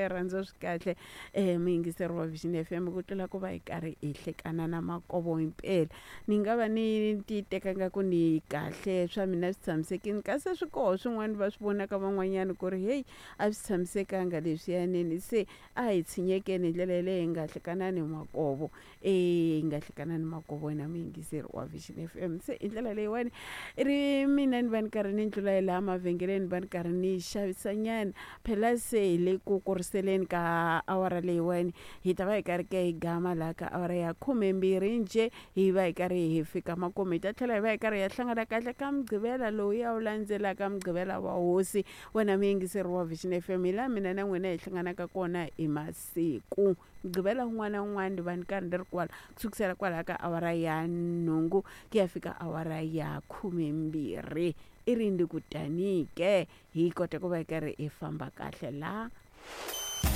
Rirhandzu swi kahle muyingiseri wa Vision FM ku tlula ku va hi karhi hi hlekana na makovo himpela. Ni nga va ni ti teka nga ku ni kahle swa mina swi tshamisekile kasi swi koho swin'wana va swi vonaka van'wanyana ku ri heyi a swi tshamisekanga leswiyanini se a hi tshinyekeni hi ndlela yaleyo hi nga hlekanani makovo hi nga hlekanani makovo wena muyingiseri wa Vision FM. Se hi ndlela leyiwani i ri mina ni va ni karhi ni ndlula hi laha mavhengeleni ni va ni karhi ni xavisanyana phela se hi le ku kuriseleni ka awara leyiwani hi ta va hi karhi ke hi gama laha ka awara ya khumembirhi njhe hi va hi karhi hi fika makumu hi ta tlhela hi va hi karhi hi ya hlangana kahle ka mugqivela lowu ya wu landzelaka mugqivela wa hosi wena muyingiseri wa Vision FM hi laha mina na n'wina hi hlanganaka kona hi masiku mugqivela wun'wana na wun'wana ni va ni karhi ni ri kwala ku sukisela kwalaha ka awara ya nhungu ku ya fika awara ya khumembirhi i ri ndi ku tani ke hi kota ku va hi karhi hi famba kahle laha.